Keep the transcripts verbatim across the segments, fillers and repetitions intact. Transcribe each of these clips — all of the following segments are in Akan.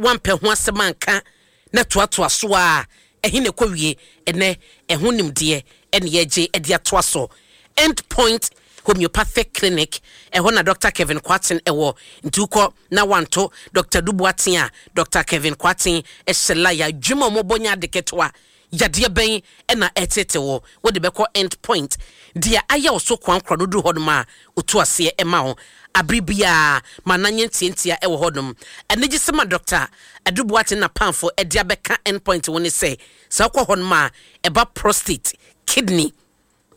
Wampɛ ho asɛm anka na toatoa so a, ɛhe na ɛkɔ wie? Ɛnɛ ɛho nimdeɛ ɛne yɛgye ɛde atoa so. End Point Homeopathic Clinic, ɛhɔ na Doctor Kevin Kwaten ɛwɔ. Nti wokɔ na wanto Doctor Duboaten a, Doctor Kevin Kwaten ɛhyɛ laya adwuma a ɔmɔbɔ nyɛ ade ketewa. Yadeɛ bɛn ɛna ɛtete wɔ wode bɛkɔ End Point? Deɛ ayɛ wo so kwan korɔ no duru hɔnom a, ɔtu aseɛ ɛma wo abere biara ma nanyɛ ntiantia ɛwɔ hɔnom. Anigye sɛm a Doctor Aduboaten na pamfo ɛde abɛka End Point wo ne sɛ, sɛ wokɔ hɔnom a, ɛba prostate, kidney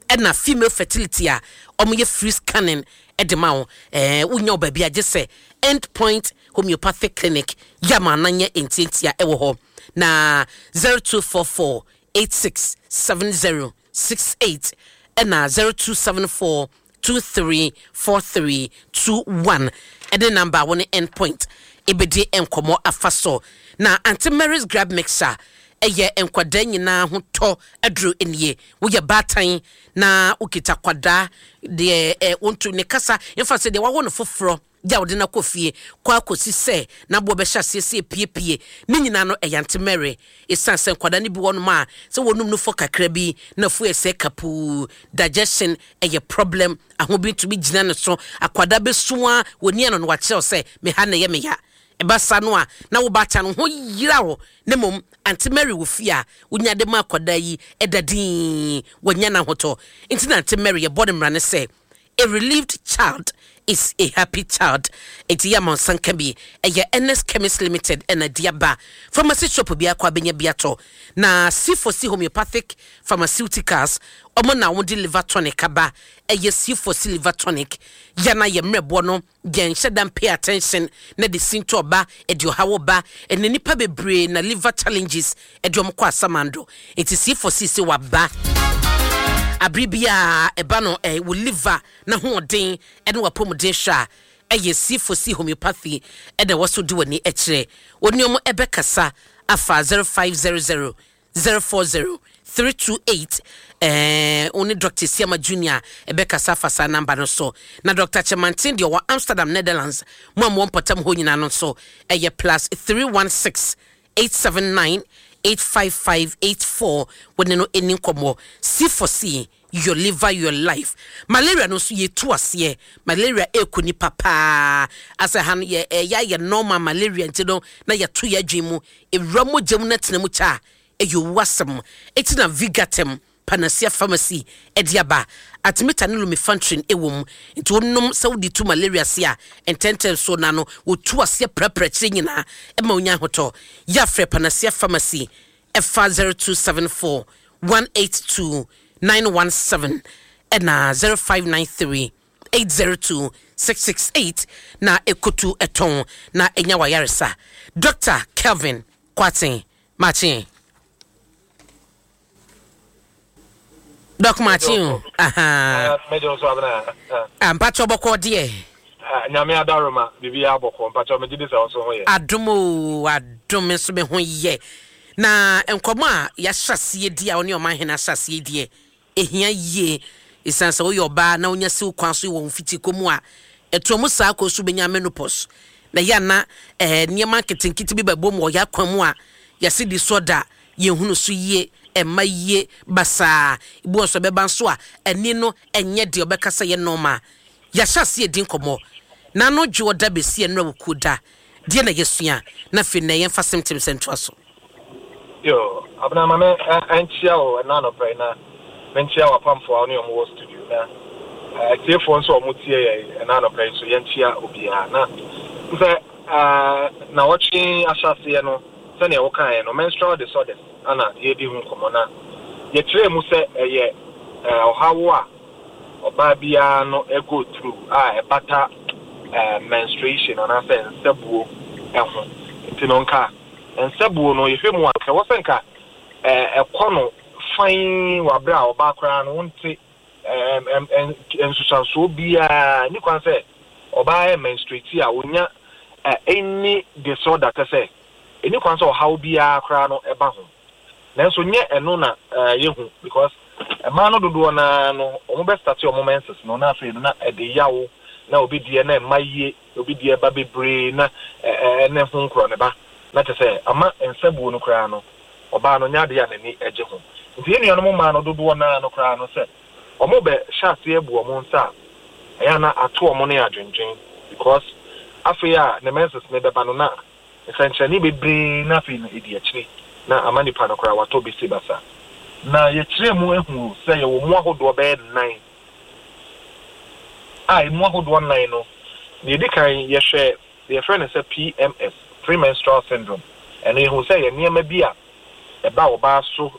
ɛna female fertility a, ɔmoyɛ free scanning ɛde ma wo. ɛɛ wonya wo baabi agye sɛ End Point Homeopathic Clinic yɛ ama ananyɛ ntiantia ɛwɔ hɔ na zero two four four eight six seven zero six eight ɛna zero two seven four two three four three two one ɛde number a wɔne End Point ebedi nkɔmɔ afa so. Na Aunty Mary's Gripe Mixture ɛyɛ nkwadaa nyinaa ho tɔ aduro nie. Woyɛ baatan na wokita kwadaa deɛ ɛ wontu ne kasa mfa sɛ deɛ wawo no foforɔ gya wode no akɔ fie kɔ akɔsi sɛ n'aboɔ bɛhyɛ aseɛ sɛ epiepie ne nyinaa no, ɛyɛ Aunty Mary. Ɛsiane sɛ nkwadaa no bi wɔ nom a, sɛ wɔnum no fɔ kakra bi na fo ɛsɛ kapuu, digestion ɛyɛ problem, aho bi ntumi gyina ne so, akwadaa bɛsua wɔni ano no wakyerɛw sɛ meha na ɛyɛ meya. Ɛba sa no a, na wo baata no ho yira wo. Ne mmom Aunty Mary wɔ fie a, wonya de ma akwadaa yi ɛda dinn, wɔnya n'ahotɔ. Nti na Aunty Mary yɛbɔ ne mmara ne sɛ a relieved child is a happy child. Nti yɛ amansan ka bi, ɛyɛ N S Chemist Limited ɛna di aba. Pharmacy shop bi akɔ abɛnya bi atɔ. Na C four C Homeopathic Pharmaceuticals, ɔmo na wɔn de liver tonic aba. Ɛyɛ C four C liver tonic yana yɛ mmerɛboɔ no yɛn hyɛ dan pay attention na de sinto ɔba ɛde ɔhaw ba. Ɛna nipa bebree na liver challenges ɛde ɔmo kɔ asamando. Nti C four C sɛ waba abere biara ɛba no ɛ wɔ liver na hoɔden ɛne wapɔmuden hwɛ a, ɛyɛ C four C Homeopathy ɛna ɛwɔ so di w'ani ɛkyerɛ. Wɔne ɔmo ɛbɛkasa afa zero five zero zero zero four zero three two eight. ɛɛ wɔne Doctor Siama Junior ɛbɛkasa afa saa number no so. Na Doctor Kyɛmanten deɛ ɔwɔ Amsterdam, Netherlands, mo a mo wɔ mpɔtam hɔ nyinaa no nso, ɛyɛ plus three one six eight seven nine eight five five eight four. Wɔne no ani nkɔmmɔ. C four C, your liver, your life. Malaria no nso yɛtu aseɛ. Malaria ɛkɔ nipa paa asɛ ha no yɛ ɛyɛ ayɛ normal malaria. Nti no na yɛto yɛ adwene mu ewura mogya mu na tena mu kyɛ a, ɛyɛ owu asɛm. Eti na Vigatem Panacea Pharmacy ɛde aba. Artemether ne lumefantrine ɛwɔ mu. Nti wonom sɛ wode tu malaria se a, ntɛntɛn so na no wɔtu aseɛ prɛprɛ kyerɛ nyinaa ɛma wonya ahotɔ. Yɛafrɛ Panacea Pharmacy ɛfa zero two seven four one eight two nine one seven ɛna zero five nine three eight zero two six six eight na ɛkotu ɛtɔn na ɛnya wayaresa. Doctor Kelvin Kwaten, makye. Doc, makye o. Aha. Mɛgye nso abena. Ah, mpakyɛ, bɔkɔ deɛ? Nyame adaroma, biribi abɔkɔ. Mpakyɛ, megye di sɛ wo nso ho yɛ. Adom o, adom nso me ho yɛ. Na nkɔmɔ a yɛahyɛ aseɛ di a ɔne ɔman hene ahyɛ aseɛ deɛ, ɛhia yie, ɛsiane sɛ woyɛ ɔbaa na wonya siw kwan so wɔ mfiti kɔ mu a, ɛtoɔ mu saa kɔ so bɛnya menopause na yɛ ana ɛɛ nneɛma nketenkete bi bɛbɔ mu wɔ yɛ akwan mu a yɛse di so da yɛhunu so yie, ɛma yie basaa. Ebi wɔ nso ɛbɛba nso a, ɛni no ɛnyɛ deɛ ɔbɛka sɛ yɛ normal. Yɛahyɛ aseɛ di nkɔmɔ na ano dwe ɔda bɛsi ɛnura wɔ kuo da deɛ na yɛsua na afei na yɛmfa symptoms ntoa so. Yo, abena, ma me ɛnkyia wo ɛna anɔpɛ yi na menkyia w'apamfoɔ a wo ne ɔmo wɔ studio na atiefoɔ nso a ɔmo tie yɛ ɛna anɔpɛ yi so, yɛnkyia obiara. Na sɛ na wɔtwe ahyɛaseɛ no, sɛnea wokaeɛ no, menstrual disorders ana yɛdi ho nkɔmmɔ na yɛkyerɛɛ mu sɛ ɛyɛ ɔhaw a ɔbaa biara no go through a ɛbata menstruation anaasɛ nsɛbuo ɛho. Nti no nka nsɛbuo no, yɛhwɛ mu a, nka ɛwɔ sɛ nka ɛkɔ no fine wɔ abere a ɔbaa koraa no wonte nsusuansoɔ biara ni kwan sɛ ɔbaa yɛ menstruate a onya any disorder, kyɛ sɛ ɛni kwan sɛ ɔhaw biara koraa no ɛba ho. Nanso nyɛ ɛno na yɛhu, because mmaa no dodoɔ naa no, wɔn bɛ start wɔn menses no na afei no na ɛde yaw na obi deɛ na ɛma yie, obi deɛ ba bebree na ɛne ho nkorɔ ne ba. Na kyerɛ sɛ ama nsabuo no koraa no, ɔbaa no nyɛ adeɛ a n'ani gye ho. Nti yɛn nuanom mmaa no dodoɔ naa no koraa no, sɛ ɔmo bɛ hyɛ aseɛ bu ɔmo nsa a, ɛyɛ na ato ɔmo ne adwendwen, because afei a ne menses ne bɛba no, na nsɛnkyerɛnne bebree na afei no edi akyire na ama nipa no koraa watɔ besi basa. Na yɛkyerɛ mu ehu sɛ yɛwɔ mu ahodoɔ bɛyɛ nnan a emu ahodoɔ nnan no, nea edi kan, yɛhwɛ deɛ yɛfrɛ no sɛ P M S, premenstrual syndrome. Ɛno yɛhu sɛ yɛ nneɛma bi a ɛba ɔbaa so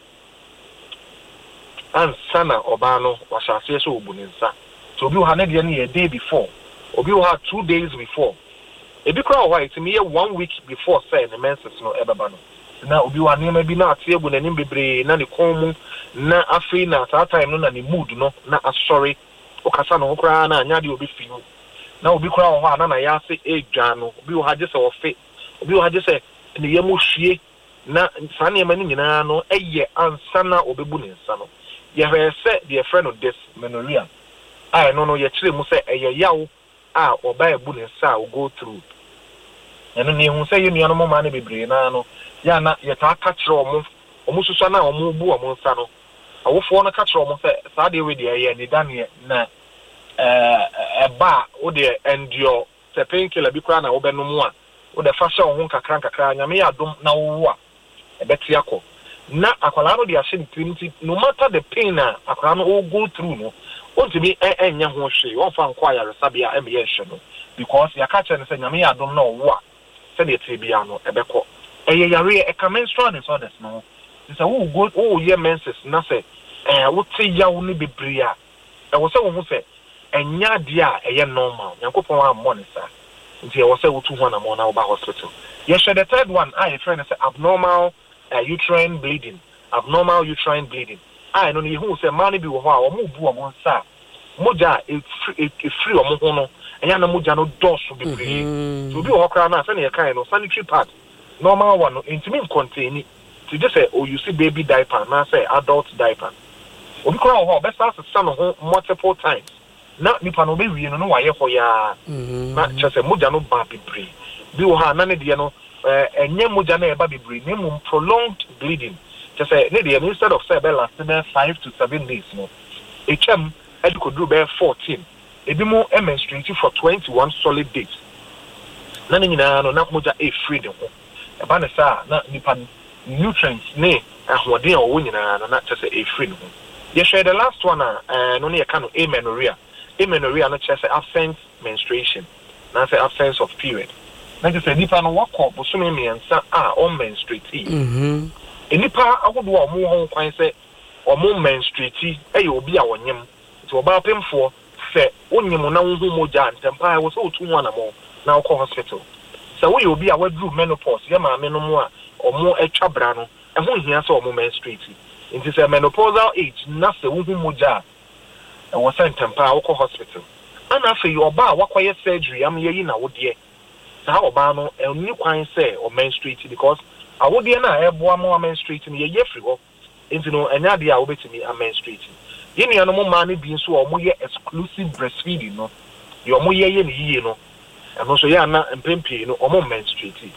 ansa na ɔbaa no wahyɛ aseɛ sɛ ɔbu ne nsa. Nti obi wɔ ha, ne deɛ no yɛ day before, obi wɔ ha, two days before, ebi koraa wɔ hɔ a ɛtumi yɛ one week before sɛ ne menses no ɛbɛba no. Na obi wɔ ha, nneɛma bi na ate agu n'anim bebree na ne kɔn mu, na afei na saa time no na ne mood no na asɔre, wokasa ne ho koraa na anya deɛ obi fi mu. Na obi koraa wɔ hɔ a na na ase edwa no. Obi wɔ ha gye sɛ ɔfe, obi wɔ ha gye sɛ ne yam hwie, na saa nneɛma no nyinaa no ɛyɛ ansa na ɔbɛbu ne nsa no. Yɛhwɛ sɛ deɛ yɛfrɛ no dysmenorrhea a, ɛno no yɛkyerɛ mu sɛ ɛyɛ yaw a ɔbaa ebu ne nsa a ɔgo through. Ɛno ne ehu sɛ yɛn nuanom mmaa no bebree naa no yɛ ana yɛtaa ka kyerɛ ɔmo, ɔmo susua na ɔmo bu ɔmo nsa no, awofoɔ no ka kyerɛ ɔmo sɛ saa deɛ wei deɛ ɛyɛ nidaneɛ na ɛɛ ɛba a wodeɛ endure, sɛ painkiller bi koraa na wobɛnom a, wode fa hyɛ wo ho nkakra nkakra, Nyame yɛ adom na wowo a, ɛbɛte akɔ. Na akwadaa no de ahyɛ ne tirim, nti no matter the pain a akwadaa no ɔ go through no, ɔntumi ɛnyɛ ho hwee, ɔmfa nkɔ ayaresabea ɛmɛyɛ nhwɛ no, because yɛaka kyerɛ no sɛ Nyame yɛ adom na ɔwo a, sɛdeɛ tiri biara no ɛbɛkɔ. Ɛyɛ yareɛ, ɛka menstrual disorders no ho. Nti sɛ wogo woyɛ menses na sɛ ɛɛ wote yaw no bebree a, ɛwɔ sɛ wohu sɛ ɛnyɛ adeɛ a ɛyɛ normal. Nyankopɔn ammɔ ne saa, nti ɛwɔ sɛ wotu ho anammɔn na woba hospital. Yɛhwɛ the third one a yɛfrɛ no sɛ abnormal uh, uterine bleeding. Abnormal uterine bleeding a, ɛno no yɛhu sɛ mmaa no bi wɔ hɔ a wɔn bu wɔn nsa a, mogya a efiri efiri wɔn ho no, ɛyɛ ana mogya no dɔɔso bebree. So obi wɔ hɔ koraa no a, sɛnea yɛkae no, sanitary pad normal one no ntumi ncontain, ti gye sɛ ouse baby diaper anaasɛ adult diaper. Obi koraa wɔ hɔ a ɔbɛsa asesa ne ho multiple times, na nipa no ɔbɛwie no na wayɛ hɔ yaa, na kyerɛ sɛ mogya no ba bebree. Bi wɔ hɔ a na ne deɛ no ɛɛ ɛnyɛ mogya no ɛba bebree, na mmom prolonged bleeding, kyerɛ sɛ ne deɛ no, instead of sɛ ɛbɛ last bɛyɛ five to seven days no, etwam ɛde kɔduru bɛyɛ fourteen. Ebi mu menstruate for twenty one solid days, na ne nyinaa no na mogya efiri ne ho. Ɛba ne saa na nipa no nutrients ne ahoɔden a ɔwɔ nyinaa no na kyerɛ sɛ efiri ne ho. Yɛhwɛ the last one a, ɛɛ no ne yɛka no amenorrhea. Amenorrhea no kyerɛ sɛ absent menstruation na sɛ absence of period, na kyerɛ sɛ nipa no wakɔ bosome mmiɛnsa a ɔmmenstruate. Nipa ahodoɔ a wɔn wɔ ho kwan sɛ wɔn menstruate yɛ obi a ɔnyem. Nti ɔbaa pemfoɔ, sɛ wonyem na wohu mogya a, ntɛmpa ɛwɔ sɛ wotu ho anammɔn na wokɔ hospital. Sɛ woyɛ obi a waduru menopause, yɛ maame no mu a ɔmo atwa bra no, ɛho nhia sɛ ɔmo menstruate. Nti sɛ menopausal age na sɛ wohu mogya a, ɛwɔ sɛ ntɛmpa a wokɔ hospital. Ana afei ɔbaa a wakɔyɛ surgery am yɛyi n'awodeɛ, saa ɔbaa no ɛnni kwan sɛ ɔmenstruate, because awodeɛ no a ɛboa ma menstruate no, yɛyɛ firi hɔ, nti no ɛnyɛ adeɛ a wobɛtumi amenstruate. Yɛn nuanom mmaa no bi nso a wɔyɛ exclusive breastfeeding no, deɛ wɔyɛ yɛ ne yie no, ɛno nso yɛ ana mpɛn pii no wɔn menstruate.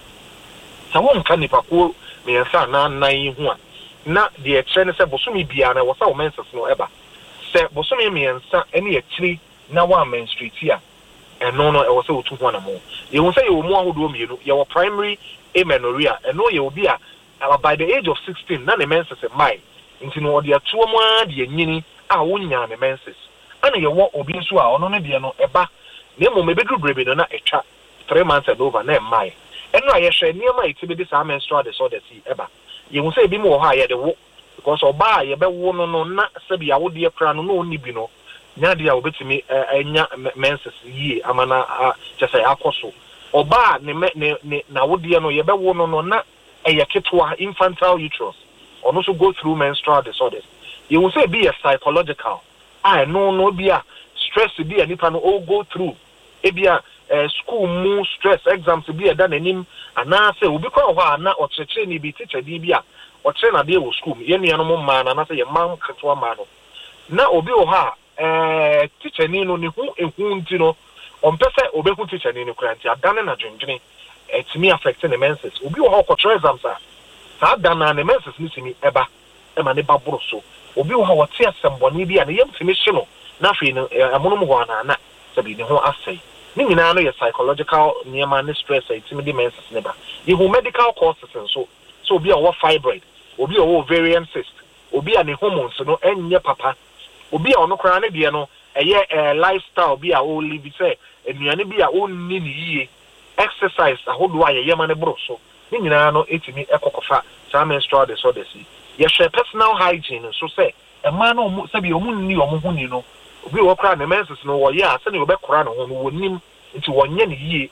Sɛ wɔnka nipakuo mmiɛnsa anaa nnan yi ho a, na deɛ ɛkyerɛ ne sɛ bosome biara no ɛwɔ sɛ wɔn menses no ɛba. Sɛ bosome mmiɛnsa ne akyire na wɔn menstruate a, ɛno no ɛwɔ sɛ wotu ho anamɔ. Yɛhu sɛ yɛwɔ mu ahodoɔ mmienu. Yɛwɔ primary amenorrhea, ɛno yɛ obi a by the age of sixteen na ne menses mmae, nti no ɔde atoɔ mu ara de anyini a wonyaa ne menses. Ɛna yɛwɔ obi nso a ɔno no deɛ no ɛba, na mmom ebɛduru berɛ bi no na ɛtwa three months and over na ɛmmae. Ɛno a yɛhwɛ nneɛma a yɛtumi de saa menstrual disorders yi ɛba, yɛhu sɛ ebi mu wɔ hɔ a yɛde wo, because ɔbaa a yɛbɛwo no no na sɛbi awodeɛ koraa no na ɔnni bi no, nya adeɛ a obɛtumi anya menses yie ama na kyɛ sɛ akɔ so. Ɔbaa ne ne ne n'awodeɛ no yɛbɛwo no no na ɛyɛ ketewa, infantile uterus, ɔno nso go through menstrual disorders. Yɛhu sɛ ebi yɛ psychological a, ɛno no ebi a stress bi a nipa no o go through, ebi a ɛɛ school mu stress, exams bi a ɛda n'anim, anaasɛ obi kora wɔ hɔ a na ɔkyerɛkyerɛni bi, teacher bi bi a ɔkyerɛ n'adeɛ wɔ school mu, yɛn nuanom mmaa no anaasɛ yɛn mmaa nketewa mmaa no, na obi wɔ hɔ a ɛɛ teacher ni no ne ho ehu, nti no ɔmpɛ sɛ obehu teacher ni no kora, nti adane n'adwendwene. Ɛtumi affect ne menses. Obi wɔ hɔ, ɔkɔtwerɛ exams a, saa da naa ne menses no tumi ɛba ɛma ne ba boro so. Obi wɔ hɔ a, wɔte asɛmbɔne bi a, ne yam tumi hye no, na afei no ɛmonom hɔ anaa sɛbi ne ho asɛe. Ne nyinaa no yɛ psychological nneɛma ne stress a ɛtumi de menses ne ba. Yɛhu medical causes nso so: obi a ɔwɔ fibroid, obi a ɔwɔ ovarian cyst, obi a ne hormones no ɛnyɛ papa, obi a ɔno koraa ne deɛ no ɛyɛ ɛɛ lifestyle bi a ɔlive, sɛ nnuane bi a ɔnni ne yie, exercise ahodoɔ a yɛyɛ ma ne boro so, ne nyinaa no ɛtumi ɛkɔkɔfa saa menstrual disorders yi. Yɛhwɛ personal hygiene nso, sɛ mmaa no ɔmo sɛbi ɔmo nni ɔmo ho ni no. Obi wɔ koraa ne menses no wɔyɛ a, sɛnea ɔbɛkora ne ho no wɔnim, nti wɔnyɛ ne yie.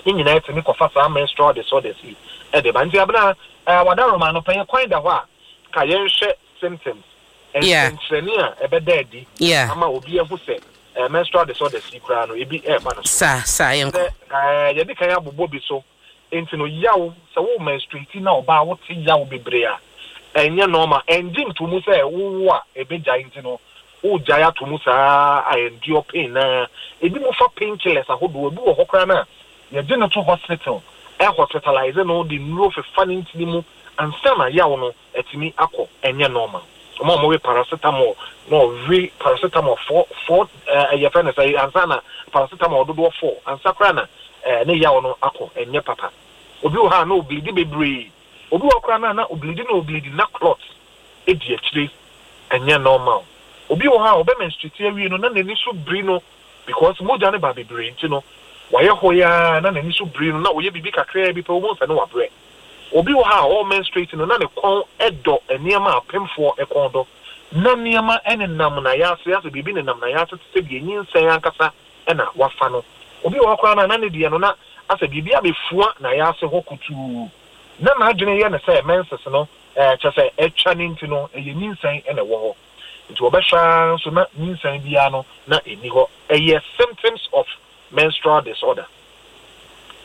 Ne nyinaa tumi kɔfa saa menstrual disorders yi ɛde ba. Nti Abena, ɛɛ wadaroma no pɛyɛ kwan da hɔ a ka yɛnhwɛ symptoms, nsɛnkyerɛnne a ɛbɛda adi ama obi ahu sɛ ɛɛ menstrual disorders yi koraa no ebi ɛɛba no so. Saa saa, yɛnkɔ. Sɛ ɛɛ yɛde kan abobɔ bi so, nti no yaw, sɛ wo menstruate na ɔbaa wote yaw bebree a, ɛnyɛ normal. Ɛngye ntomu sɛ wowo a ɛbɛgyae, nti no wogyae ato mu saa a endure pain. Na ebi mo fa pain killers ahodoɔ. Ebi wɔ hɔ koraa na yɛgye no to hospital, ɛ hospitalize no, de nnuro fefa ne ntini mu ansa na yaw no ɛtumi akɔ. Ɛnyɛ normal. Ɔmo a ɔmo we paracetamol na ɔwe paracetamol four four, ɛɛ yɛfrɛ no sɛ ansa na paracetamol dodoɔ four ansa koraa na ɛɛ ne yaw no akɔ, ɛnyɛ papa. Obi wɔ ha a na obleedi bebree. Obi wɔ koraa na na obleedi na obleedi na clot edi akyire, ɛnyɛ normal. Obi wɔ hɔ a ɔbɛ menstruate awie no na n'ani so biri no, because mogya no ba bebree, nti no wayɛ hɔ yaa na n'ani so biri no, na ɔyɛ biribi kakraa bi pɛ, wɔn nsa no wabrɛ. Obi wɔ ha a ɔwɔ menstruate no na ne kɔn ɛdɔ nneɛma a apemfoɔ ɛkɔn dɔ, na nneɛma ɛnenam na yɛase ase, biribi nenam na yɛase te sɛ deɛ nyinsɛn ankasa ɛna wafa no. Obi wɔ hɔ koraa na na ne deɛ no na asɛ biribi abɛfua na yɛase hɔ kutuu, na n'adwene yɛ ne sɛ menses no ɛɛ kyɛ sɛ ɛtwa ne, nti no ɛyɛ nyinsɛn ɛna ɛwɔ hɔ, nti wɔbɛhwɛ ara nso na nyinsɛn biara no na ɛni hɔ. Ɛyɛ symptoms of menstrual disorder.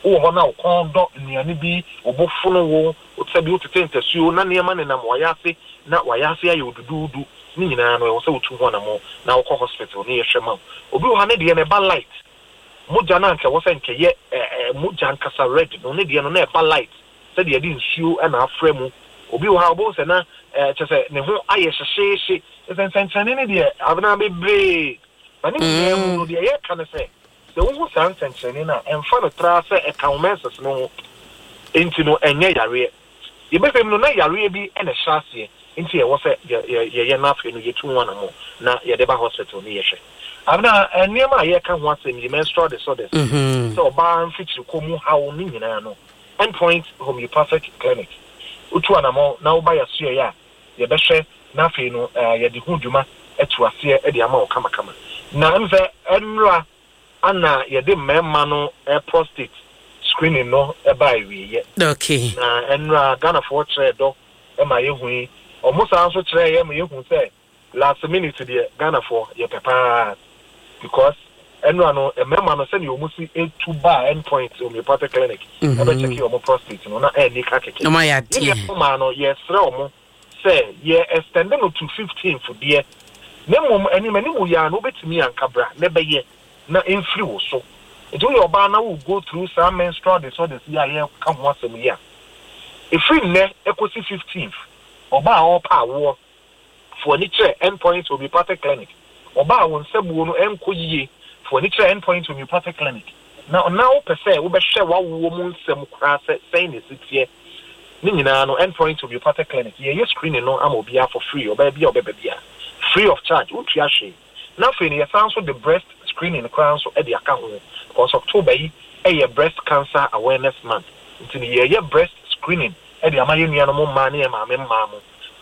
Wowɔ hɔ na wo kɔn dɔ nnuane bi, wo bo fono wo, sɛbi wotete ntasuo na nneɛma nenam wayɛ ase na wayɛ ase ayɛ oduduudu, ne nyinaa no ɛwɔ sɛ wotu ho anamo na wokɔ hospital ne yɛhwɛ ma wo. Obi wɔ ha, ne deɛ no ɛba light. Mogya no anka ɛwɔ sɛ nkɛyɛ ɛɛ mogya nkasa red no, ne deɛ no na ɛba light sɛdeɛ yɛde nsuo ɛna afrɛ mu. Obi wɔ ha, ɔbɛhu sɛ na ɛɛ kyɛ sɛ ne ho ayɛ hyehyeehye. Nsɛnkyerɛnne ne deɛ, Abena, bebree na ne nyinaa mu no, deɛ yɛka ne sɛ, sɛ wohu saa nsɛnkyerɛnne no a, ɛmfa no tra sɛ ɛka wo menses no ho nti no ɛnyɛ yareɛ. Yɛbɛhwɛ mu no na yareɛ bi ɛna ɛhyɛ aseɛ, nti ɛwɔ sɛ yɛyɛ no afei no yɛtu ho anamo na yɛde ba hospital ne yɛhwɛ. Abena, nneɛma a yɛka ho asɛm yi, menstrual disorders, sɛ ɔbaa mfikyirikɔ mu haw ne nyinaa no, Endpoint Homeopathic Clinic, wotu anamɔ na woba yɛasoɛeɛ a, yɛbɛhwɛ na afei no yɛde ho dwuma atu aseɛ de ama wo kamakama. Na ɛm sɛ ɛnnora ana yɛde mmarima no prostate screening no ɛba awieɛ. Okay na ɛnnora Ghanafoɔ kyerɛ dɔ ma yɛhu yi. Ɔmo saa nso kyerɛ yɛ ma yɛhu sɛ last minute deɛ, Ghanafoɔ yɛpɛ paa, because ɛnnora no mmarima no, sɛdeɛ ɔmo si etu ba Endpoint Homeopathic Clinic ɛbɛkyɛke ɔmo prostate no na ɛnni ka kɛkɛ. Ɔmo ayɛ adeɛ. Yɛn maa no, yɛsrɛ ɔmo sɛ yɛ extend no to fifteenth deɛ, na mmom anim anim yɛ a no wobɛtumi anka bra na ɛbɛyɛ na ɛmfiri wo so. Nti woyɛ ɔbaa na wo go through saa menstrual disorders yi a yɛka ho asɛm yi a, ɛfiri nnɛ ɛkɔsi fifteenth, ɔbaa a ɔrepa awoɔ, fo ani kyerɛ Endpoint Homeopathic Clinic. Ɔbaa a wo nsabuo no ɛnkɔ yie, fo ani kyerɛ Endpoint Homeopathic Clinic. Na na wopɛ sɛ wobɛhwɛ w'awoɔ mu nsɛm koraa sɛ sɛn na ɛsi teɛ, ne nyinaa no, Endpoint Homeopathic Clinic, yɛyɛ screening no ama obiara for free. Ɔbaa bi a ɔbɛba bi a, free of charge, wontua hwee. Na afei no yɛsan nso de breast screening koraa nso de aka ho, because October yi ɛyɛ Breast Cancer Awareness Month, nti no yɛyɛ breast screening de ama yɛn nuanom mmaa ne yɛn maame mmaa mo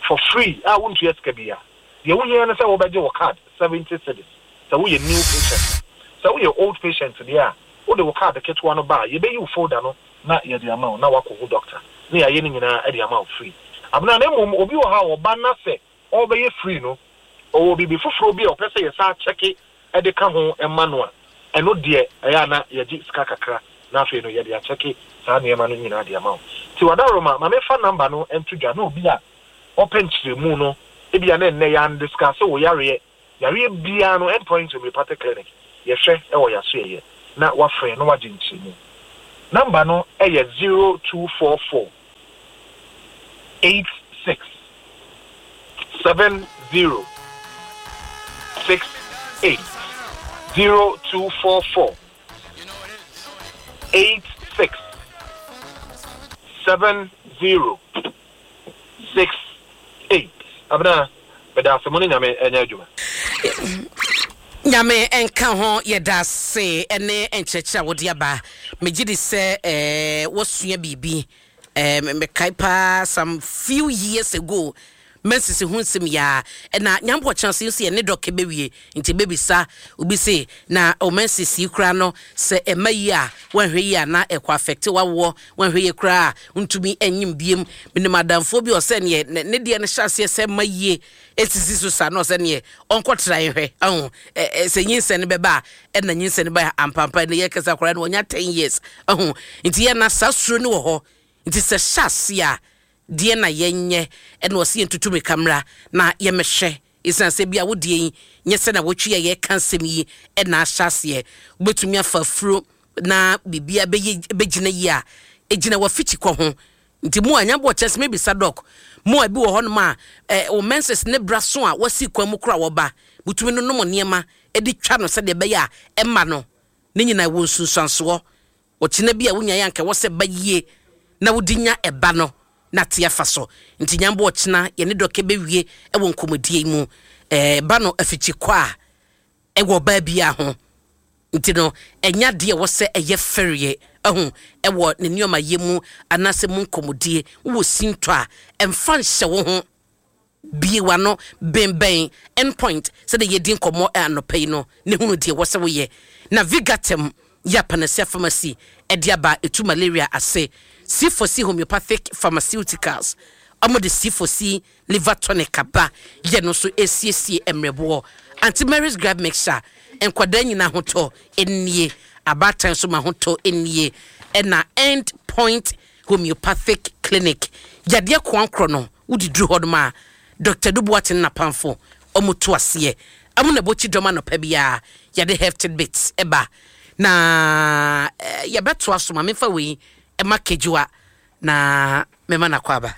for free a wontua sika bi a. Deɛ wohia no sɛ wobɛgye wo card, seventy cedis, sɛ woyɛ new patient. Sɛ woyɛ old patient deɛ a, wode wo card ketewa no ba a, yɛbɛyi wo folder no na yɛde ama wo na wakɔhu doctor ne yɛayɛ no nyinaa de ama wo free, Abena. Na mmom obi wɔ ha a ɔba na sɛ ɔrebɛyɛ free no, ɔwɔ biribi foforɔ bi a ɔpɛ sɛ yɛsa akyɛke de ka ho ma no a, ɛno deɛ ɛyɛ a na yɛgye sika kakra na afei no yɛde akyɛke saa nneɛma no nyinaa de ama wo. Nti wadaroma, ma mefa number no nto dwa na obi a ɔpɛ nkyerɛmu no, ebia na nnɛ yɛandiscuss wo yareɛ, yareɛ biara no, Endpoint Homeopathic Clinic, yɛhwɛ ɛwɔ yɛaso yɛyɛ na wafrɛ na wagye nkyerɛmu. Number no ɛyɛ zero two four four eight six seven zero six eight zero two four four eight six seven zero six eight. Abena, bɛda ase mo ne Nyame ɛnyɛ adwuma. Nyame nka ho. Yɛda ase ne nkyerɛkyerɛ a wode aba. Megye di sɛ eh, wɔsua biribi. eh, mekae paa, some few years ago, mɛnsisi ho nsɛm yaa ɛna nyampɔ kyɛn se nso yɛ ne dɔkɛ bɛwie, nti bɛbisa obi se na o mɛnsisi koraa no sɛ ɛma yi a wɔnhwɛ yi a na ɛkɔ affect wawoɔ, wɔnhwɛ yie koraa a ntumi ɛnyim biem. Menim adamfoɔ bi ɔsɛ neɛ ne ne deɛ no hyɛ aseɛ sɛ ma yie ɛsisi so saa na ɔsɛ neɛ ɔnkɔtra nhwɛ ɛho ɛ sɛ nyinsɛn no bɛba a, ɛna nyinsɛn no ba ampampa ne yɛ kasa koraa no wɔnya ten years ɛho. Nti yɛ na saa suro no wɔ hɔ, nti sɛ hyɛ ase a deɛ na yɛnyɛ ɛna ɔsɛ yɛntutu mirika mmra na yɛmɛhwɛ, ɛsiane sɛ bi a wodeɛ yi nyɛ sɛ na wɔtwi a yɛka nsɛm yi ɛna ahyɛ aseɛ, wobɛtumi afa afuro na biribia bɛyɛ bɛgyina yi a ɛgyina wafikyi kɔ ho. Nti mu a nyabɔ kyɛ sɛ mebisa doc, mu a bi wɔ hɔnom a ɛ wo menses ne bra so a wasi kwan mu kora wɔba butumi no nom nneɛma ɛde twa no sɛdeɛ ɛbɛyɛ a ɛma no ne nyinaa wɔ nsunsuansoɔ. Ɔkyena bi a wonya yɛ anka wɔ sɛ ba yie na wode nya ɛba no na te afa so. Nti nyambɔ ɔkyena yɛne dɔkɛ bɛwie ɛwɔ nkɔmmɔdie yi mu. ɛɛ ba no afikyi kɔ a ɛwɔ ɔbaa biara ho, nti no ɛnya deɛ ɛwɔ sɛ ɛyɛ fɛreɛ ɛho ɛwɔ ne nneɛma yɛ mu anaasɛ mu nkɔmmɔdie. Wowɔ sintɔ a ɛmfa nhyɛ wo ho, bie w'ano bɛnbɛn Endpoint sɛdeɛ yɛdi nkɔmmɔ anɔpa yi no ne hunu deɛ ɛwɔ sɛ woyɛ. Na Vigatem yɛ Panacea Pharmacy ɛde aba, ɛtu malaria ase. C four C Homeopathic Pharmaceuticals, ɔmo de C four C Liver Tonic aba, yɛ no nso esiesie mmerɛboɔ. Aunty Mary's Gripe Mixture, nkwadaa nyinaa ahotɔ nie, abaatan nso ma ahotɔ nie. Ɛna End Point Homeopathic Clinic, yadeɛ koankorɔ no wode duru hɔ nom a, Doctor Dubuate ne napamfo ɔmo to aseɛ ɔmo na ɛbɔkyi dɔm. Anɔpa biara yɛde health tidbits ɛba na eh, yɛbɛtoa so. Ma memfa wei ɛma kejuwa na mɛma nakɔ aba.